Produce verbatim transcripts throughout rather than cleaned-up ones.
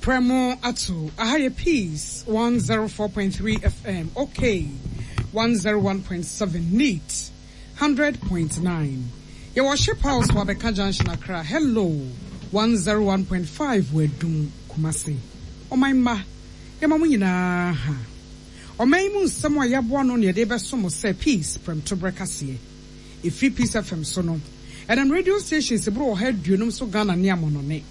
Premo ato aha yɛ Peace one zero four point three F M, Okay one zero one point seven, Neat hundred point nine. Yɛwɔ Ship House wɔ Abɛka Junction, Accra. Hello one zero one point five wɔ Adum, Kumasi. Ɔman mma, yɛma mo nyinaa ha. Ɔman yi mu nsɛm a yɛaboa no ne yɛde bɛso mo sɛ Peace Prɛmtoberɛ kaseɛ. Ɛfiri Peace F M so no, ɛnam radio stations boro ɔha aduonum so Ghana ne amɔnɔne.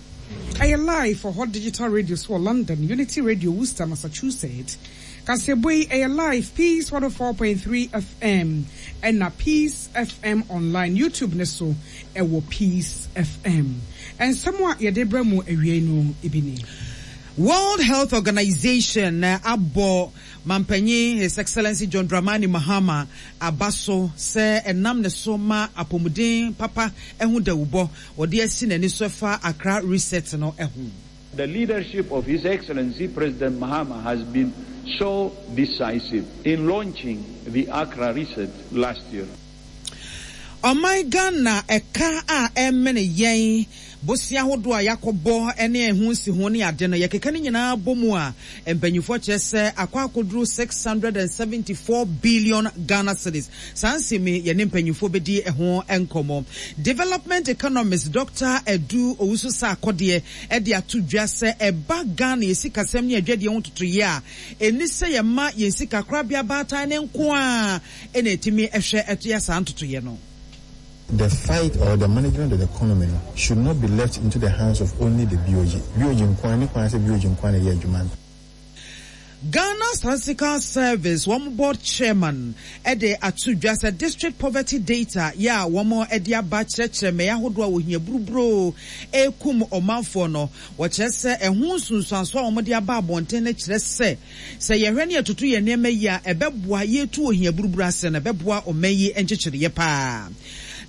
Ɛyɛ live wɔ hɔ digital radio so wɔ London, Unity Radio, Worcester, Massachusetts. Kaseɛbɔ yi ɛyɛ live Peace one oh four point three F M ɛna Peace F M online, YouTube ne so ɛwɔ Peace F M. Nsɛm a yɛde brɛ mu awie no ebi ni. World Health Organization abɔ mampanyin His Excellency John Dramani Mahama aba so sɛ ɛnam ne so ma apɔmuden papa ɛho dawubɔ wɔde asi n'ani so ɛfa Accra Reset no ɛho. The leadership of His Excellency President Mahama has been so decisive in launching the Accra Reset last year. Ɔman Ghana ɛka a ɛmene yɛn, bosia ahodoɔ a yɛakɔbɔ ne ɛho nsi ho ne ade no, yɛkeka no nyinaa bɔ mu a, mpanyinfoɔ kyerɛ sɛ akɔ akɔduru six hundred and seventy four billion Ghana cedis. Saa nsɛm yi, yɛne mpanyinfoɔ bɛdi ɛho nkɔmɔ. Development economist Doctor Edu Owusu Sarkodie ɛde ato dwa sɛ ɛba Ghana yɛ sikasɛm ne adwadeɛ ho totoyɛ a, ɛni sɛ yɛma yɛn sika korabea baatan ne nko a ɛna ɛtumi ɛhwɛ ɛto yɛ saa ntotoyɛ no. The fight or the management of the economy no, should not be left into the hands of only the B O G. B O G nkwan ne kwan sɛ B O G nkwan na ɛyɛ adwuma no. Ghana Statistical Service wɔn board chairman ɛde ato dwa sɛ district poverty data yɛ a wɔn ɛde aba kyerɛkyerɛ mmɛyɛ ahodoɔ a wɔhia buruburo ekum ɔmanfoɔ no, wɔkyerɛ sɛ ɛho nsunsuanso a wɔn de aba abɔnten no kyerɛ sɛ sɛ yɛhwɛ ne yɛtoto yɛn nneɛma yi a, ɛbɛboa yɛtu ohia buruburo ase no, ɛbɛboa ɔman yi nkyekyereɛ paa.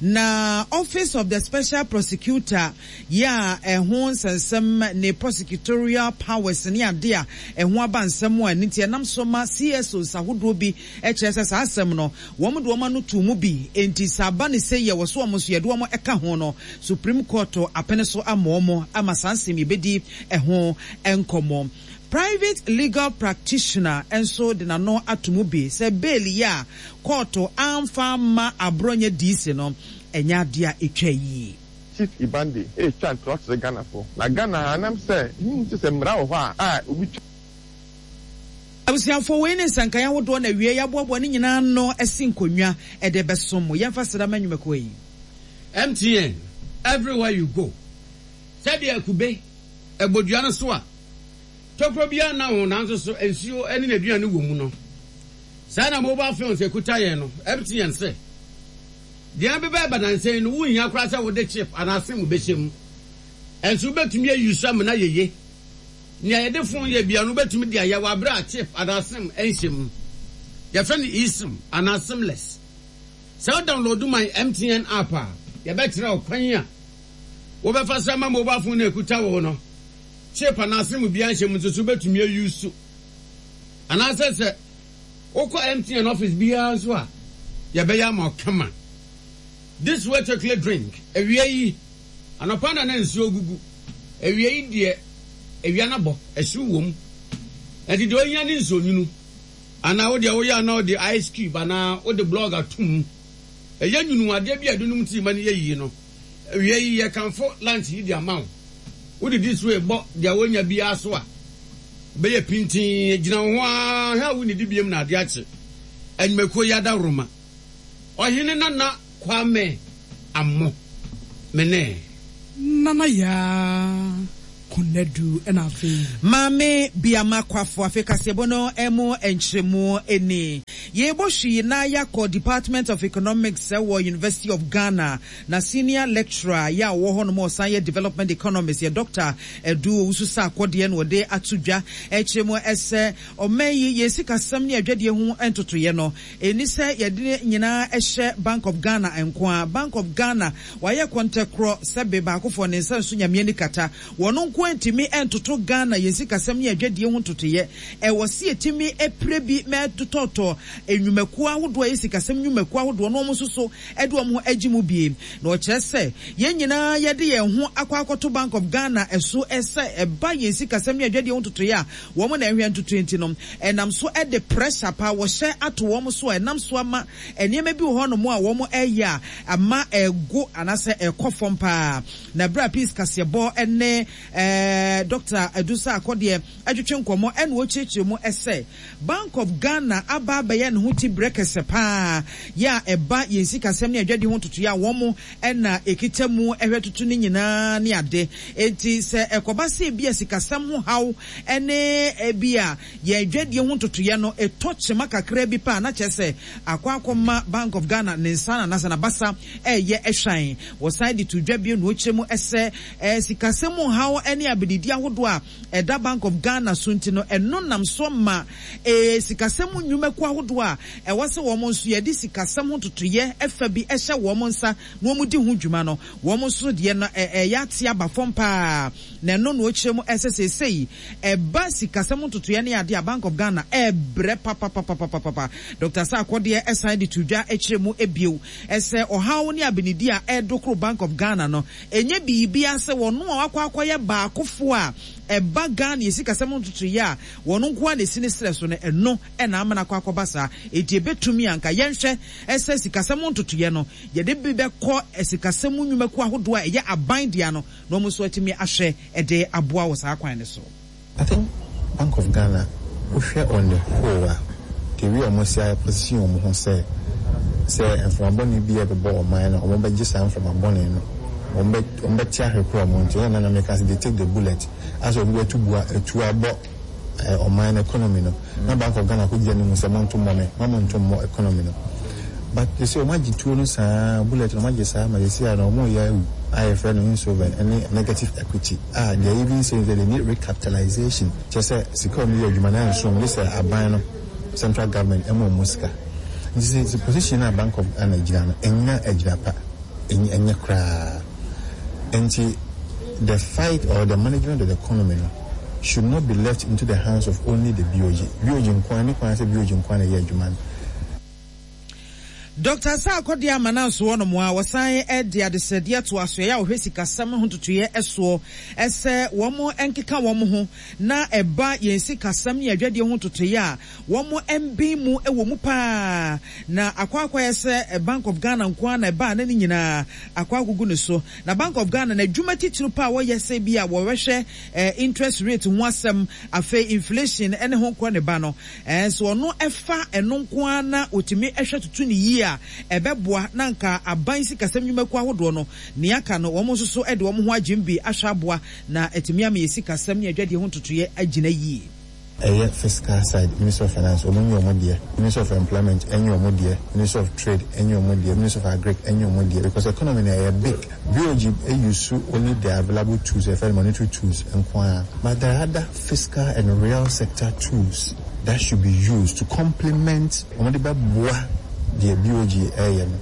Na Office of the Special Prosecutor yɛ a ɛho nsɛnsɛm ne prosecutorial powers ne ade a ɛho aba nsɛm a ɛno nti ɛnam so ma C S Os ahodoɔ bi kyerɛ sɛ saa asɛm no wɔn de wɔn ano to mu bi, nti sɛ aba ne sɛ yɛ wɔ so wɔn nso yɛde wɔn ɛka ho no, Supreme Court apene so ama wɔn ama saa nsɛm yɛbɛdi ɛho nkɔmmɔ. Private legal practitioner nso de n'ano ato mu bi sɛ bail yi a kɔɔto amfa ama Abronye D C no, ɛnyɛ adeɛ a ɛtwa yie. Chief Ibande etwa ntorɔ kyerɛ Ghanafoɔ na Ghana anam sɛ hmm sɛ sɛ mmara wɔ hɔ a a obi twa. Abusuafoɔ, wei ne nsankan ahodoɔ na wie yɛaboaboa ne nyinaa no asi nkonnwa ɛde bɛsom mo. Yɛmfa sra ma nnwumakuo yi. M T N, everywhere you go. Sɛdeɛ kube ɛbɔdua no so a tokuro biara na ho, nanso so nsuo ne n'aduane wɔ mu no, saa na mobile phones ekuta yɛn no. M T N sɛ deɛ bɛbɛ ɛba nansɛn no, wonhia koraa sɛ wode chip anaa SIM bɛhyɛ mu, ɛnso wobɛtumi ayi so amena yeye. Nea yɛde phone yɛ bia no, wobɛtumi de ayɛ wɔ abere a chip anaa SIM ɛnhyɛ mu. Yɛfrɛ no eSIM anaa SIMless. Sɛ wo download my M T N app a, yɛbɛkyerɛ wo kwan a wobɛfa so ama mobile phone no ekuta wo no, chip anaa SIM biara nhyɛ mu nso so wobɛtumi ayi so. Anaasɛ sɛ wokɔ M T N office biara nso a, yɛbɛyɛ ama wo kama. This Way chocolate drink, awia yi anɔpa na na nsuo gugu awia yi deɛ, awia no bɔ ɛhyew wɔ mu, ɛnti deɛ ohia ne nsuo nwunu anaa wode woyɛ anaa wode ice cube anaa wode block ato mu, ɛyɛ nwunu adeɛ bi a ɛde tii ma no yɛ yie no. Awia yi yɛkamfo lunch yi de ama wo. Wode This Way bɔ deɛ wonya biara so a, bɛyɛ pintin gyina wo ho ara hwɛ a wonnidi biem na adeɛ akye. Anwumakuo yi adaworoma, Ɔhene Nana Kwame Ammɔ mene. Nana Yaa Konadu ɛna afei. Maame Biama Kwafo. Afei kaseɛbɔ no mu nkyerɛmu ani yɛbɔ hwii na yɛakɔ Department of Economics ɛwɔ University of Ghana, na senior lecturer yɛ a wɔwɔ hɔ nom a ɔsan yɛ development economist yɛ Doctor Edu Owusu Sarkodie na wɔde ato dwa ɛkyerɛ mu ɛsɛ ɔman yi yɛn sikasɛm ne adwadie ho ntotoyɛ no, ɛni sɛ yɛde nyinaa ɛhyɛ Bank of Ghana nko a. Bank of Ghana wayɛ kɔntɛkorɔ sɛbe baakofoɔ ne nsa nso Nyame ani kata wɔn nko ntumi ntoto Ghana yɛn sikasɛm ne adwadie ho ntotoyɛ. Ɛwɔ si yɛtumi apire bi mɛtotɔtɔ nnwumakuo ahodoɔ a ɛyɛ sikasɛm nnwumakuo ahodoɔ na wɔn nso so de wɔn ho agye mu bie. Na ɔkyerɛ sɛ yɛn nyinaa yɛde yɛn ho akɔ akɔto Bank of Ghana so sɛ ɛba yɛn sikasɛm ne adwadie ho ntotoeɛ a wɔn na ɛhwɛ ntotoeɛ nti no, ɛnam so de pressure paa wɔhyɛ ato wɔn so a ɛnam so ama nneɛma bi wɔ hɔnom a wɔn reyɛ a ama ɛrego anaasɛ ɛrekɔ fam paa. Na berɛ a Peace Kaseɛbɔ ne Dɔkta Adu Sarkodie twetwe nkɔmmɔ na ɔkyerɛkyerɛ mu sɛ Bank of Ghana aba abɛyɛ ne ho ti berɛ kɛsɛ paa yɛ a ɛba yɛn sikasɛm ne adwadie ho ntotoeɛ a wɔn na ɛkita mu hwɛ toto ne nyinaa ne ade. Enti sɛ ɛkɔba sɛ ebia sikasɛm ho haw ne ebia yɛn adwadie ho ntotoeɛ no tɔ kyema kakra bi pɛ a, na kyerɛ sɛ akɔ akɔma Bank of Ghana ne nsa anaasɛ n'abasa reyɛ hwann. Wɔsan de to dwa bio na wɔkyerɛ mu sɛ sikasɛm mu haw ne abedidi ahodoɔ a ɛda Bank of Ghana so nti no, ɛno nam so ma sikasɛm mu nnwumakuo ahodoɔ a ɛwɔ sɛ wɔn nso yɛde sikasɛm ho ntotoeɛ fa bi hyɛ wɔn nsa na wɔdi ho dwuma no, wɔn nso deɛ no ɛyɛ ate aba fam pa ara. Na ɛno na ɔkyerɛ mu sɛ seesei ɛba sikasɛm ntotoeɛ ne adeɛ a Bank of Ghana ɛrebrɛ papapapapapa. Doctor Sarkodie san de to dwa kyerɛ mu bio sɛ ɔhaw ne abenedie a ɛredokoro Bank of Ghana no, ɛnyɛ biribiara sɛ wɔn a wɔakɔ akɔyɛ baakofoɔ a ɛba Ghana yɛ sikasɛm ntotoeɛ a wɔn nko ara na ɛsi ne serɛ so no, ɛno na ama no akɔ akɔba saa. Enti ɛbɛtumi a anka yɛnhwɛ sɛ sikasɛm ntotoeɛ no, yɛde bi bɛkɔ sikasɛm mu nnwumakuo ahodoɔ a ɛyɛ aban dea no na wɔn nso atumi ahwɛ de aboa wɔ saa kwan no so. I think Bank of Ghana wohwɛ on the whole a, the way wɔn asi a position wɔn ho sɛ sɛ mframa bɔne bi rebɛbɔ ɔman no a, wɔn bɛgye saa mframa bɔne no, wɔn bɛ wɔn bɛte ahwe korɔ wɔn nti ɛna na meka sɛ they take the bullet asɛ obi bɛtu bua atuo abɔ ɔman no economy no na Bank of Ghana kɔgyina ne mu sɛ monto mmɔ me, mma monto mmɔ economy no. But sesei wɔn agye tuo no saa, bullet no wɔn agye saa ma sesei a no wɔn reyɛ awu a yɛfrɛ no insolvent ɛne negative equity a they are even saying sɛ they need recapitalization kyerɛ sɛ sika a wɔn de yɛ adwuma no ɛnso wɔn gye sɛ aban no central government ɛma wɔn sika. Nti sɛ sɛ position no a Bank of Ghana gyina no ɛnya agyina pa, ɛnyɛ koraa. Nti the fight or the management of the economy no should not be left into the hands of only the B O G. B O G nko ara, ne kwan sɛ B O G nko ara na ɛyɛ adwuma no. Dɔkta Sarkodie ama no aso hɔnom a wɔsan de adesrɛdeɛ to asoɛeɛ a wɔhwɛ sikasɛm ho ntotoeɛ soɔ sɛ wɔn nkeka wɔn ho na ɛba yɛn sikasɛm ne adwadie ho ntotoeɛ a wɔn mben mu wɔ mu pa ara na akɔ akɔyɛ sɛ Bank of Ghana nko ara na ɛba a na ne nyinaa akɔ akɔgu ne so. Na Bank of Ghana n'adwuma titiriw pa a wɔyɛ sɛ bi a wɔbɛhwɛ interest rate ho asɛm, afei inflation ne ho nkorɔ ne ba no, sɛ ɔno fa ɛno nko ara na ɔtumi hwɛ toto no yie a, ɛbɛboa na anka aban sikasɛm nnwumakuo ahodoɔ no, nea aka no wɔn nso so de wɔn ho agyem bi ahwɛ aboa na atumi ama yɛn sikasɛm ne adwadie ho ntotoeɛ agyina yie. Ɛyɛ fiscal side, Ministry of Finance, wɔn nyɛ wɔn deɛ, Ministry of Employment nyɛ wɔn deɛ, Ministry of Trade nyɛ wɔn deɛ, Ministry of Agric nyɛ wɔn deɛ because economy no ɛyɛ big. B O G use only the available tools, yɛfrɛ no monetary tools nko ara but there are other fiscal and real sector tools that should be used to complement wɔn de bɛboa deɛ B O G ɛreyɛ no.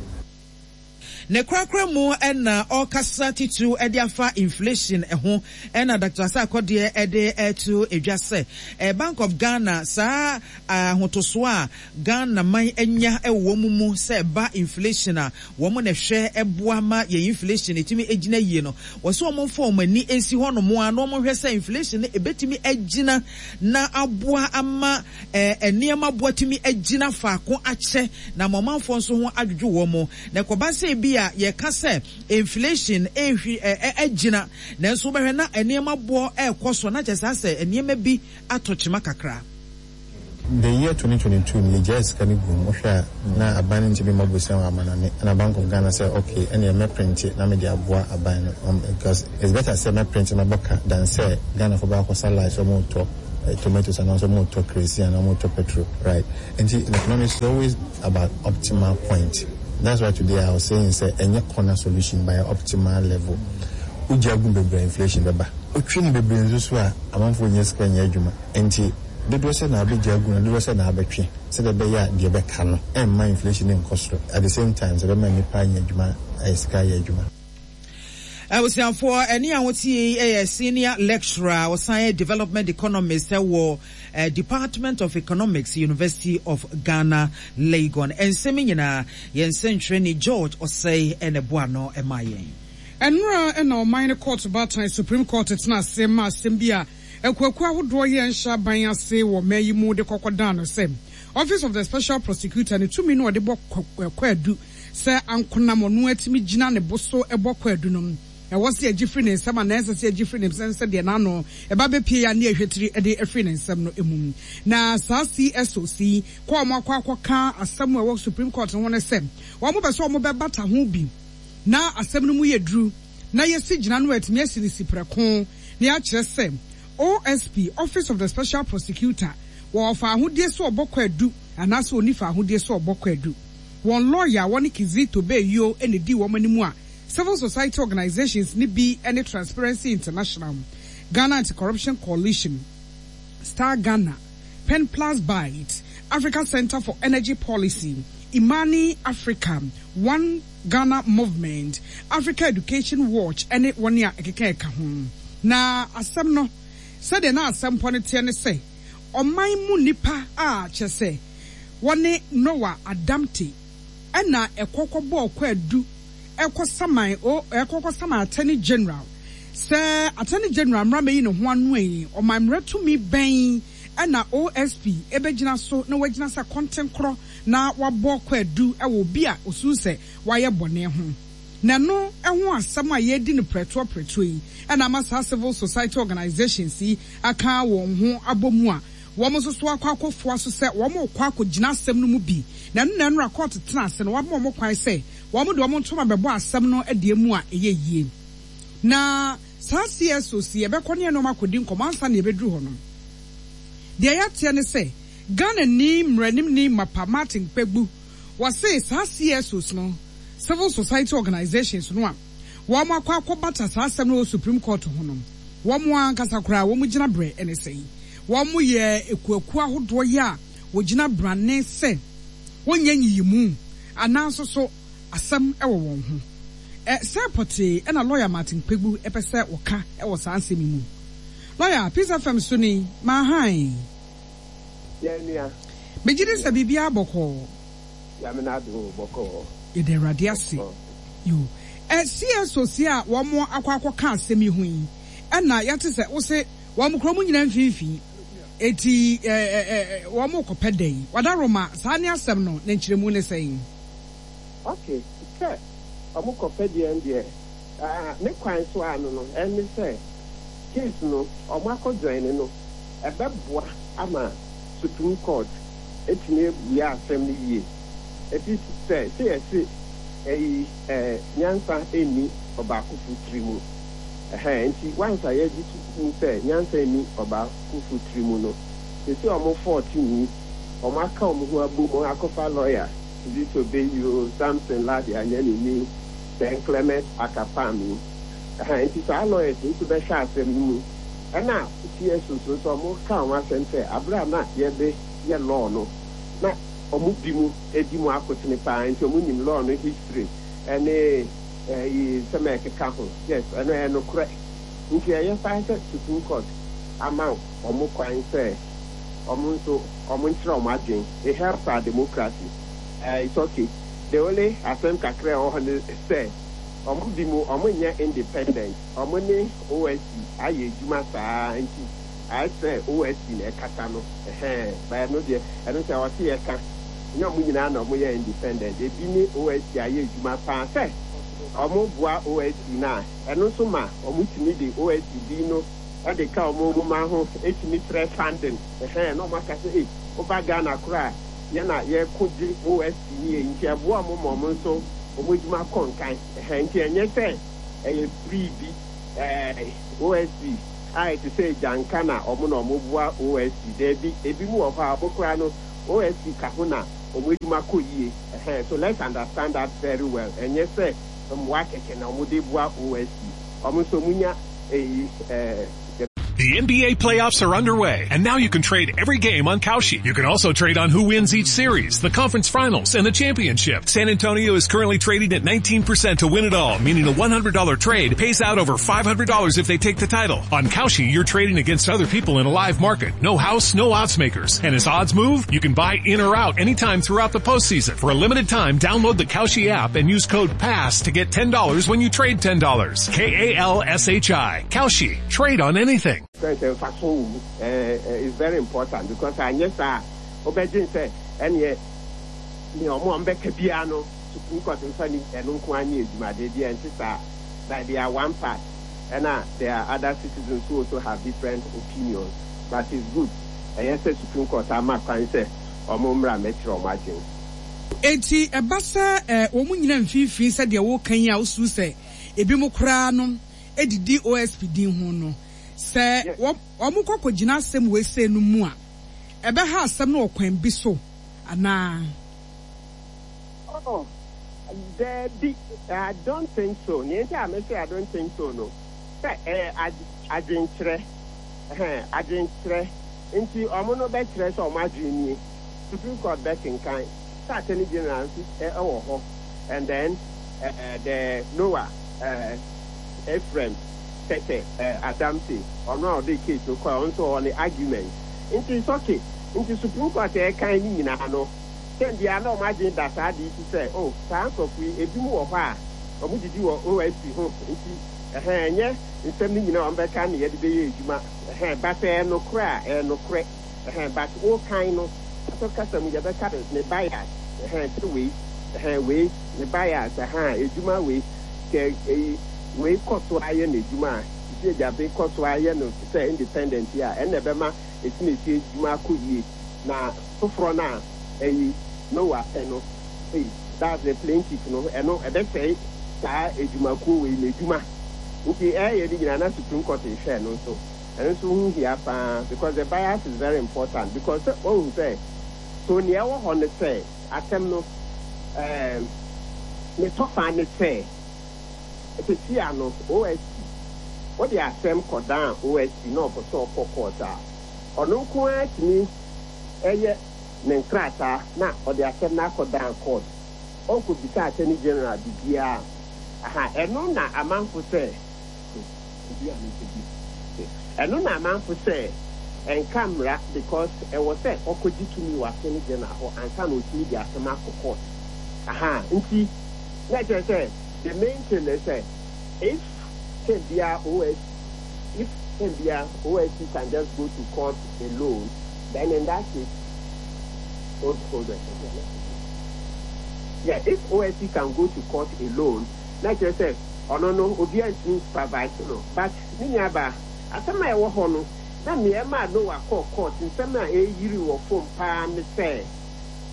Ne korakora mu na ɔrekasa titiriw de afa inflation ho na Doctor Asah-Kɔdeɛ de reto dwa sɛ Bank of Ghana saa ahotosoɔ a Ghana man anya wɔ wɔn mu sɛ ɛba inflation a wɔn na ɛhwɛ boa ma yɛn inflation tumi gyina yie no, wɔsɛ wɔn mfa wɔn ani nsi hɔnom ara na wɔn nhwɛ sɛ inflation no ɛbɛtumi agyina na aboa ama nneɛma boɔ atumi agyina faako akyɛ na ama ɔmanfoɔ nso ho adwodwo wɔn. Na ɛkɔba sɛ ebia yɛka sɛ inflation rehwi ɛ agyina, nanso wobɛhwɛ na nneɛma boɔ rekɔ so, na kyerɛ sɛ asɛ nneɛma bi atɔ kyema kakra. The year twenty twenty two no yɛgyae sika no guu mu, wohwɛ a na aban no ntumi mmɔ bosea wɔ amanɔne, ɛna Bank of Ghana sɛ okay ɛneɛ mɛprinte na mede aboa aban no, um, because it's better sɛ mɛprinte mabɔ ka than sɛ Ghanafoɔ bɛakɔ sa line sɛ wɔretɔ tomatoes anaasɛ wɔretɔ kerosene anaa wɔretɔ petrol, right? Nti in economics it's always about optimal point. That's why today I was saying sɛ ɛnyɛ corner solution but ɛyɛ optimal level. Wogya gu bebree a inflation bɛba. Wotwe no bebree nso so a amanfoɔ nnya sika nyɛ adwuma. Nti dodoɔ sɛ na wobɛgya agu no dodoɔ sɛ na wobɛtwe sɛdeɛ ɛbɛyɛ a deɛ ɛbɛka no ɛmma inflation no nkɔ soro at the same time sɛ ɛbɛma nnipa anya adwuma ayɛ sika ayɛ adwuma. Abusuafoɔ, ɛne a wotie yi yɛ senior lecturer a ɔsan yɛ development economist wɔ Department of Economics, University of Ghana, Legon. Nsɛm yi nyinaa, yɛn nsɛntwerɛni George Osei na ɛboa ano maa yɛn. Ɛnnora na ɔman no kɔɔto baatan, Supreme Court, tenaa ase maa asɛm bi a akuakuo ahodoɔ yɛ nhyɛ aban ase wɔ ɔman yi mu de kɔkɔdaa no sɛ Office of the Special Prosecutor ne tumi no a ɔde bɔ kwaadu sɛ ankonam ɔno ara tumi gyina ne bo so bɔ kwaadu no ɛwɔ sɛ yɛgye firi ne nsam anaa ɛnsɛ sɛ yɛgye firi ne nsam sɛdeɛ n'ano ɛba bɛpue a ne yɛhwɛ tiri de afiri ne nsam no mu. Na saa C S Os yi kɔ a wɔakɔ akɔka asɛm a ɛwɔ Supreme Court ho ne sɛ wɔpɛ sɛ wɔbɛbata ho bi na asɛm no mu yɛ duru na yɛsi gyina no atumi asi ne si prɛko na yɛakyerɛ sɛ O S P, Office of the Special Prosecutor, wɔ ɔfa ahodie so ɔbɔ kwaadu anaasɛ ɔni fa ahodie so ɔbɔ kwaadu. Wɔn lɔya a wɔne Kizito Beyio na di wɔn anim a civil society organizations ne bi ne Transparency International, Ghana Anti-Corruption Coalition, Star Ghana, Pen Plus Byte, Africa Center for Energy Policy, Imani Africa, One Ghana Movement, Africa Education Watch ne wɔn a ɛkeka ɛka ho. Na asɛm no, sɛdeɛ na asɛm pɔ no teɛ ne sɛ ɔman mu nipa a kyerɛ sɛ wɔne Noah Adamte ɛna ɛkɔkɔ bɔɔ kwaadu ɛkɔ saman o ɛkɔkɔ saman Attorney General sɛ Attorney General mmra mɛyi ne ho ano yi, ɔman mmerɛ tumi bɛn ɛna O S P ɛbɛgyina so na wagyina sɛ kɔntenkorɔ na wabɔ kwaadu ɛwɔ obi a osun sɛ wayɛ bɔne ho? Na ɛno ɛho asɛm a yɛredi no prɛtoɔ prɛtoɔ yi ɛna ama saa civil society organizations yi aka wɔn ho abɔ mu a wɔn nso so akɔ akɔfoa so sɛ wɔn rekɔ akɔgyina asɛm no mu bi. Na ɛno na ɛnora kɔɔto tena ase no, wɔama wɔn kwan sɛ wɔn de wɔn ntoma bɛbɔ asɛm no deɛ mu a ɛyɛ yie. Na saa C S Os yɛbɛkɔ ne ɛnɔɔma akɔdi nkɔmɔ ansa na yɛbɛduru hɔ no, deɛ yɛateɛ ne sɛ Ghana ni mmaranimni mapa Martin Kpebu wɔse saa C S Os no, civil society organizations no a wɔn akɔ akɔbata saa asɛm no wɔ Supreme Court ho no, wɔn ankasa koraa wɔn gyina berɛ ne sɛn? Wɔn yɛ ekuakuo ahodoɔ yi a wɔgyina brane sɛ wɔnyɛ nyiyimu anaa nso so asɛm wɔ wɔn ho ɛ sɛ pɔtee ɛna lɔya Martin Kpebu ɛpɛ sɛ wɔka ɛwɔ saa nsɛm yi mu. Lɔya, Peace F M so ni maahan. Yɛn nua. Megye di sɛ biribiara bɔkɔɔ. Nyame n'adom, bɔkɔɔ. Yɛda Awurade ase. Yo, ɛ C S Os a wɔn akɔ akɔka asɛm yi ho yi, ɛna yɛte sɛ wose wɔn kuro mu nyinaa mfimfini eti ɛ ɛ ɛ wɔn kɔpɛ dɛn wadaroma saa ne asɛm no ne nkyerɛmu ne sɛn? Ok, sɛ ɔmo kɔpɛ deɛ deɛ ah, ne kwan so ano no ɛne sɛ case no ɔmo akɔ join no, ɛbɛboa ama Supreme Court etumi ebua asɛm no yie. Efi sɛ sɛ yɛsi ɛyi ɛɛ nyansa ɛnni ɔbaakofo tiri mu ɛhɛn, nti wansa yɛgye to mu sɛ nyansa ɛnni ɔbaakofo tiri mu no, sisi ɔmo fourteen yi ɔmo aka ɔmo ho abom akɔfa lawyer Zito Beyio, Samson Lardy Anyenini, then Clement Akapami ɛhɛn, nti saa lawyers nso bɛhwɛ asɛm no mu. Ɛna C S O nso ɔmo ka wɔn asɛm sɛ abere a na yɛbɛ yɛ law no na ɔmo bi mu edi mu akotene paa, nti ɔmo nim law no history ɛne ɛyi nsɛm a ɛkeka ho. Yes, ɛno ɛyɛ nokorɛ, nti ɛyɛ saa sɛ Supreme Court ama ɔmo kwan sɛ ɔmo nso ɔmo nkyerɛ ɔmo adwene. It helps our democracy. uh, it's okay. The only asɛm kakra a ɛwɔ hɔ ne sɛ ɔmo bi mu ɔmo nyɛ independent, ɔmo ne O S P ayɛ adwuma saa, nti ayɛ sɛ O S P na ɛkasa no ɛhɛn bɛyɛ no deɛ, ɛno sɛ ɔte yɛ ka nyɛ ɔmo nyinaa na ɔmo yɛ independent. Ebi ne O S P ayɛ adwuma paa sɛ ɔmo boa O S P na ɛno nso ma ɔmo tumi de O S P din no ɛde ka ɔmo nwoma ho, etumi kyerɛ funding ɛhɛn na ɔmo aka sɛ ee woba Ghana koraa yɛna yɛko gye O S P ne yɛ, nti ɛboa ɔmo ma ɔmo nso ɔmo adwuma kɔ nkan ɛhɛn. Nti ɛnyɛ sɛ ɛyɛ free bi ɛɛ O S P a ɛte sɛ gyanka na ɔmo na ɔmo boa O S P. Daabi, ebi mu wɔ hɔ a ɔmo koraa no O S P ka ho na ɔmo adwuma kɔ yie ɛhɛn. So let's understand that very well. Ɛnyɛ sɛ mmoa kɛkɛ na ɔmo de boa O S P, ɔmo nso ɔmo nya eyi ɛɛ. The The N B A playoffs are underway, and now you can trade every game on Kalshi. You can also trade on who wins each series, the conference finals, and the championship. San Antonio is currently trading at nineteen percent to win it all, meaning a one hundred dollar trade pays out over five hundred dollars if they take the title. On Kalshi, you're trading against other people in a live market. No house, no odds makers. And as odds move, you can buy in or out anytime throughout the postseason. For a limited time, download the Kalshi app and use code PASS to get ten dollars when you trade ten dollars. K A L S H I. Kalshi. Trade on anything. Sɛ mfaso wɔ mu ɛɛ is very important because anyɛ saa, wobɛgye sɛ ɛneɛ nea ɔmo a ɔmbɛka biara no, Supreme Court nfa ni ɛno nko anyɛ adwuma de bi ɛnte saa, but they are one part, ɛna there are other citizens who also have different opinions, but it's good ɛyɛ sɛ Supreme Court ama kwan sɛ ɔmo mmra mɛkyerɛ ɔmo adwene. Eti ɛba sɛ ɛ wɔn nyinaa mfimfini sɛdeɛ wɔka yi a, wosu sɛ ebi mu koraa no edidi O S P din ho no sɛ wɔn kɔ kɔgyina asɛm wɔ ese no mu a, ɛbɛha asɛm no wɔ kwan bi so anaa? Oh, daabi, I don't think so. Nea nti a mese I don't think so no, sɛ ɛyɛ adwenkyerɛ, ɛhɛn, adwenkyerɛ nti ɔmo no bɛkyerɛ sɛ ɔmo adwene nie, Supreme Court bɛkenkan sɛ Attorney General nso ɛwɔ hɔ, and then uh, the Noah uh, Ephraim Tete uh, Adamte, ɔno a ɔde case no kɔ, ɔno nso ɔwɔ ne argument, nti it's okay. Nti Supreme Court ɛkan ne nyinaa no, sɛn bia na ɔmo adwene da saa de yi sɛ, oh, saa nkurɔfo yi ebi mu wɔ hɔ a ɔmo didi wɔ O S P ho, nti ɛhɛn, ɛnyɛ nsɛm no nyinaa ɔmo bɛka ne yɛde bɛyɛ adwuma, ɛhɛn, but ɛyɛ nokorɛ a, ɛyɛ nokorɛ, ɛhɛn, but ɔkan no ɛtɔ kasa mu, yɛbɛka ne ne bias, ɛhɛn, sɛ wei, ɛhɛn, wei ne bias, ɛhɛn, edwuma wei kɛ eyi wei kɔ so ayɛ n'edwuma a sisi agyabe kɔ so ayɛ no te sɛ independent yi a, ɛnna ɛbɛma esi na esi edwuma akɔ yie, na foforɔ no a ɛyi Noah pɛ no, ɛyi, that's the plaintiff no, ɛno ɛbɛsɛe saa edwumakuo wei n'edwuma. Nti ɛyɛ ne nyinaa na Supreme Court ehwɛ no nso, ɛno nso ho hia paa because the bias is very important, because sɛ ɔhu sɛ so nea ɛwɔ hɔ ne sɛ asɛm no ɛɛm ne tɔfa ne sɛ sisi ano O S P wɔde asɛm kɔdan O S P na ɔpɛ sɛ ɔkɔ court a, ɔno nko ara tumi ɛyɛ ne nkrataa na ɔde asɛm no akɔdan court, ɔnkɔ bisa Attorney General bibiara. Aha, ɛno na amanfo sɛ ɛno na amanfo sɛ ɛnka mmara because ɛwɔ sɛ ɔkɔgye tumi wɔ Attorney General hɔ ansa na ɔtumi de asɛm akɔ court. Aha, nti na kyerɛ sɛ the main thing is sɛ if can be a O S if can be a O S C can just go to court alone, then in that case, hold, hold on. Yeah, if O S C can go to court alone, na kyerɛ sɛ ɔno no obiara ntumi supervise no. But ne nuaba, asɛm a ɛwɔ hɔ no na nneɛma a Noah kɔɔ court, nsɛm a ɛyiri wɔ fam paa ne sɛ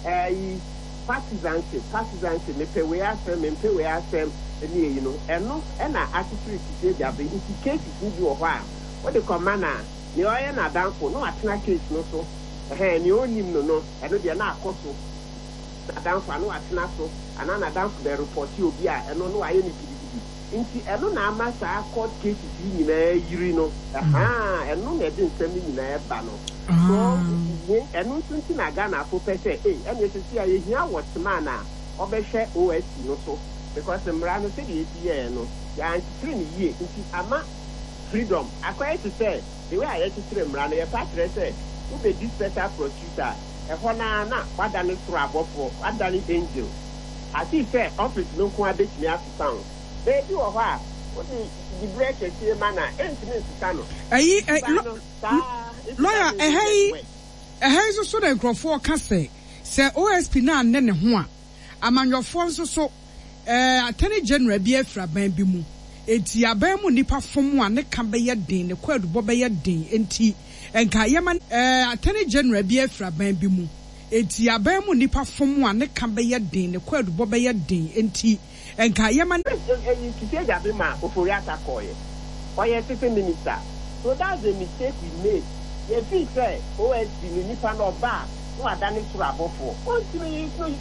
ɛyi partisanship partisanship mepɛ wei asɛm, mempɛ wei asɛm, ɛne eyi no, ɛno ɛna akyekyere Kissi Agyebeng. Nti cases no bi wɔ hɔ a wode kɔma na nea ɔyɛ n'adamfo na watena case no so, ɛhɛn, nea ɔnim no no ɛno deɛ na akɔ so n'adamfo a na watena so, anaa n'adamfo bɛ report obi a, ɛno na wayɛ no gidigidi. Nti ɛno na ama saa court cases yi nyinaa yiri no. Ɛhaa, ɛno na ɛde nsɛm no nyinaa ɛba no so. Ɛno nso nti na Ghanafo pɛ sɛ ee ɛna esisi a yɛhia watchman a ɔbɛhwɛ O S C no so, because mmara no sɛdeɛ esi yɛɛ no, yɛankyekyere no yie, nti ama freedom akɔyɛ te sɛ the way a yɛkyekyere mmara no, yɛpa kyerɛ sɛ wobɛdi special prosecutor a, ɛhɔ naa na wadane soro abɔfoɔ, wadane angel ati sɛ office no nko abɛtumi asesa wo. Beebi wɔ hɔ a wode diberɛ kɛseɛ ma na ɛntumi nsesa no. Ɛyi ɛ lawyer, ɛha yi ɛha yi nso so na nkurɔfoɔ ka sɛ sɛ O S P na anɛ ne ho a, amanyɔfoɔ nso so ɛɛ Attorney General bi afiri aban bi mu, eti aban mu nipa fom a, ne ka bɛyɛ den, ne kɔ adubɔ bɛyɛ den, nti nka yɛma ɛɛ Attorney General bi afiri aban bi mu, eti aban mu nipa fom a, ne ka bɛyɛ den, ne kɔ adubɔ bɛyɛ den, nti nka yɛma. Ɛyi Kissi Agyebeng ma Ofori Atta kɔɔyɛ, ɔyɛ sitting minister, so that's the mistake we made. Yɛfi sɛ O S P no nipa no ɔba a na wadane soro abɔfoɔ, ɔntumi no.